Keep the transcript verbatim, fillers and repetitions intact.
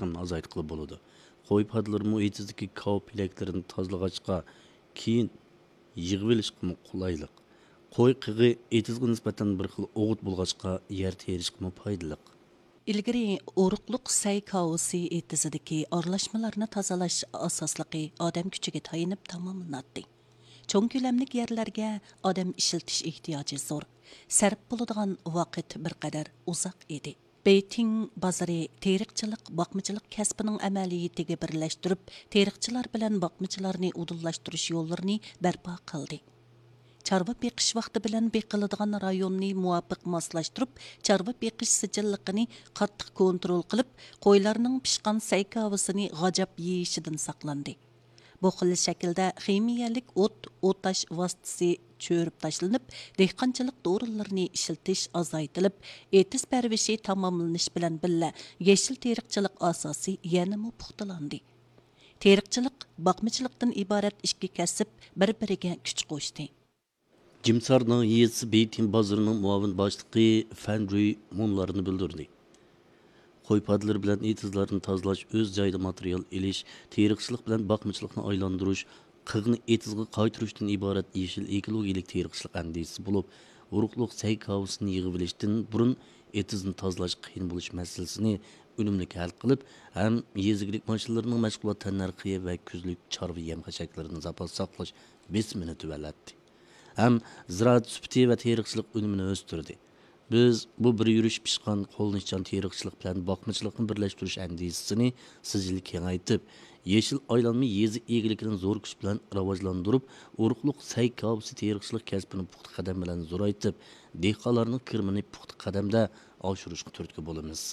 ئازايتقىلى بولىدۇ. قوي پادىلىرىمۇ ئېتىزدىكى كاۋا پېلەكلىرىنى تازىلىغاچقا، كېيىن يىغىۋېلىشقىمۇ قولايلىق. قوي قېغى ئېتىزغا نىسبەتەن بىر خىل ئوغۇت بولغاچقا، يەر تېرىشقىمۇ پايدىلىق. ئىلگىرى ئورۇقلۇق سەي كاۋىسى ئېتىزىدىكى ئارىلاشمىلارنى تازىلاش ئاساسلىقى ئادەم كۈچىگە تايىنىپ تاماملىناتتى. چوڭ كۆلەملىك يەرلەرگە ئادەم ئىشلىتىش ئېھتىياجى زور، سەرپ بولىدىغان ۋاقىت بىر قەدەر ئۇزاق ئىدى. بېيتىڭ بازىرى تېرىقچىلىق، باقمىچىلىق كەسپىنىڭ ئەمەلىيىتىگە بىرلەشتۈرۈپ، تېرىقچىلار بىلەن باقمىچىلارنى ئۇدۇللاشتۇرۇش يوللىرىنى بەرپا قىلدى. چارۋا بېقىش ۋاقتى بىلەن بېقىلىدىغان رايوننى مۇۋاپىق ماسلاشتۇرۇپ، چارۋا بېقىش سىجىللىقىنى قاتتىق كونترول قىلىپ، قويلارنىڭ پىشقان سەي كاۋىسىنى غاجاپ يېيىشىدىن ساقلاندى. بۇ خىل شەكىلدە خىمىيەلىك ئوت، ئوتاش ۋاسىتىسى چۆرۈپ تاشلىنىپ، دېھقانچىلىق دورىلىرىنى ئىشلىتىش ئازايتىلىپ، ئېتىز پەرۋىشى تاماملىنىش بىلەن بىللە، يېشىل تېرىقچىلىق ئاساسى يەنىمۇ پۇختىلاندى. تېرىقچىلىق، باقمىچىلىقتىن ئىبارەت ئىككى كەسىپ بىر-بىرىگە كۈچ قوشتى. جىمسار ناھىيەسى بېيتىڭ بازىرىنىڭ مۇئاۋىن باشلىقى فەن جۈي مۇنۇلارنى بىلدۈردى. قوي پادىلىرى بىلەن ئېتىزلارنى تازىلاش، ئۆز جايىدا ماتېرىيال ئېلىش، تېرىقچىلىق بىلەن باقمىچىلىقنى ئايلاندۇرۇش، قېغىنى ئېتىزغا قايتۇرۇشتىن ئىبارەت يېشىل ئېكولوگىيەلىك تېرىقچىلىق ئەندىزىسى بولۇپ، ئورۇقلۇق سەي كاۋىسىنى يىغىۋېلىشتىن بۇرۇن ئېتىزنى تازىلاش قىيىن بولۇش مەسىلىسىنى ئۈنۈملۈك ھەل قىلىپ، ھەم يېزا ئىگىلىك ماشىنىلىرىنىڭ مەشغۇلات تەننەرخى ۋە كۈزلۈك چارۋا يەم-خەشەكلىرىدىن زاپاس ساقلاش بېسىمىنى تۆۋەنلەتتى. ھەم زىرائەت سۈپىتى ۋە تېرىقچىلىق ئۈنۈمىنى ئۆستۈردى. بىز بۇ بىر يۈرۈش پىشقان، قوللىنىشچان تېرىقچىلىق بىلەن باقمىچىلىقنى بىرلەشتۈرۈش ئەندىزىسىنى سىجىل كېڭەيتىپ، يېشىل ئايلانما يېزا ئىگىلىكىنى زور كۈچ بىلەن راۋاجلاندۇرۇپ، ئورۇقلۇق سەي كاۋىسى تېرىقچىلىق كەسپىنى پۇختا قەدەم بىلەن زورايتىپ، دېھقانلارنىڭ كىرىمىنى پۇختا قەدەمدە ئاشۇرۇشقا تۈرتكە بولىمىز.